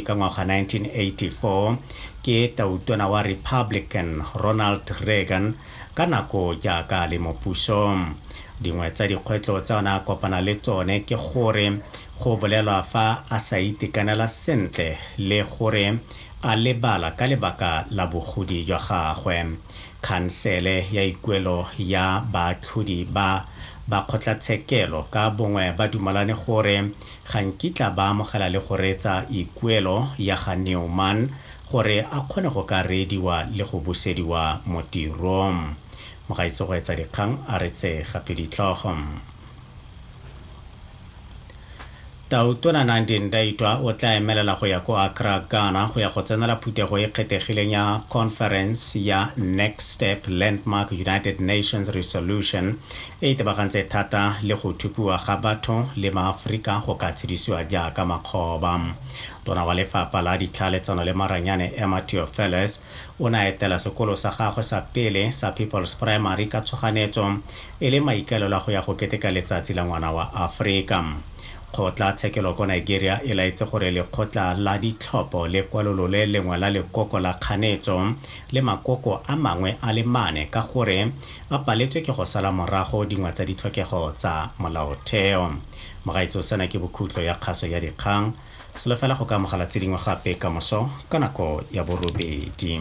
Ka ngwaga 1984 ke tautona wa Republican Ronald Reagan ka nako jaaka a le mo pusong. Dingwe tsa dikgwetlho tsa ona a kopana le tsone ke gore go bolelwa fa a sa itekanela sentle le gore a lebala ka lebaka la bogodi jwa gagwe. Khansele ya ikuelo ya baatlhodi ba ba kgotlatshekelo ka bongwe ba dumalane gore ga nkitla ba amogela le go reetsa ikuelo ya ga Newman gore a kgone go ka reediwa le go busediwa mo tirong. Mogaitse go etsa dikgang a re tse gape ditlhogo. Tautona Nandi Ndaitwah o tla emelela go ya ko Accra, Ghana go ya go tsenela phuthego e kgethegileng ya Conference ya Next Step Landmark United Nations Resolution e itebagantse thata le go thupiwa ga batho le maAforika go ka tshedisiwa jaaka makgoba. Tona wa lefapha la ditlhaeletsano le maranyane Emma Theofelus o ne a etela sekolo sa gagwe sa pele sa People's Primary ka tshoganetso e le maikaelelo a go ya go keteka letsatsi la ngwana wa Aforika. Kgotla tshekelo ko Nigeria e laetse gore lekgotla la ditlhopho le kwalolole lengwe la lekoko la kganetso le makoko a mangwe a le mane ka gore a paletswe ke go sala morago dingwe tsa ditlhokego tsa molaotheo. Mogaetso sena ke bokhutlo ya kgaso ya dikgang. Solofela go ka amogela tse dingwe gape ka moso ka nako ya borobedi.